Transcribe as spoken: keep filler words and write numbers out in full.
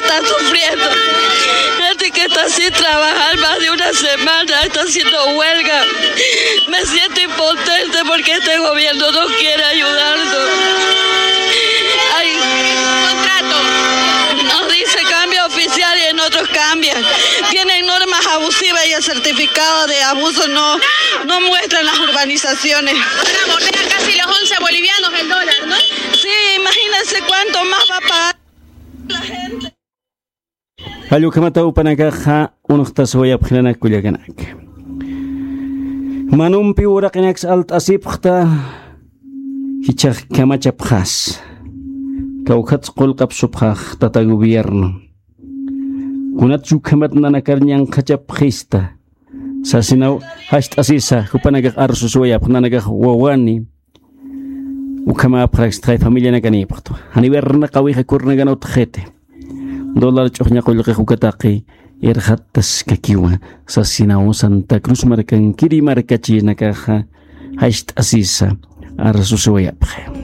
Está sufriendo. Gente que está sin trabajar más de una semana, está haciendo huelga. Me siento impotente porque este gobierno no quiere ayudarnos. Ay, contrato. Nos dice cambio oficial y en otros cambian. Tienen normas abusivas y el certificado de abuso no, no muestran las urbanizaciones. Para volver a casi los once bolivianos el dólar, ¿no? Sí, imagínense cuánto más va a pagar la gente. Jallukhamata upanakaxa unxtasiwayapxinanak kullakanaka. Manumpi uraqinaks alt'asipxta jichhax kamachapxas. Kawkhatsa qullqapsupxax tata gobierno. Kunatsa ukhamat nanakar ñanqhachapxista sasinaw, jast'asisa jupanakax arsusuwayapx nanakax wawani. Ukhamäpxarakstxay familianakanïpxtwa janiw irnaqawix akhurnakan utjxiti. Dólar ch'uxña qullqix uka taqi irxattaskakiwa sasinaw, Santa Cruz markankiri markachinakaxa jast'asisa arsusuwayapxi.